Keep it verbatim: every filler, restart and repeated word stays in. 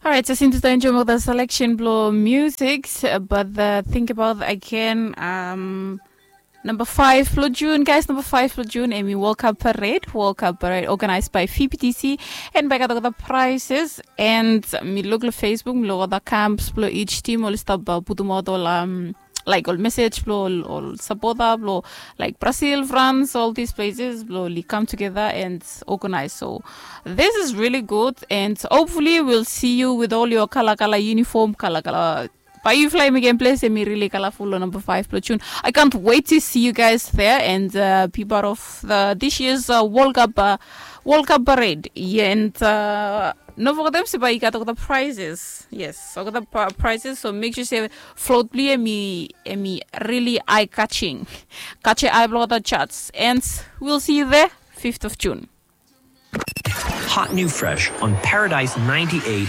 Alright, so since we enjoy the selection blow music, but the think about again, um, number five blow June, guys, number five blow June, and we World Cup parade, World Cup parade organized by F I P T C, and by the prizes, and mi look at Facebook, mi look at the camps blow each team, all stuff about putum out all um like all message blow all, all supporter blow like Brazil, France, all these places blow li come together and organize. So this is really good, and hopefully we'll see you with all your color color uniform, color color. But you fly again place and me really colorful on number five platoon. I can't wait to see you guys there and uh, be part of the this year's uh, World Cup uh, World Cup parade. Yeah, and uh, no forget them by got all the prizes. Yes, all the prizes. So make sure say float play me me really eye catching. Catch your eye blow the charts. And we'll see you there, fifth of June. Hot new fresh on Paradise ninety-eight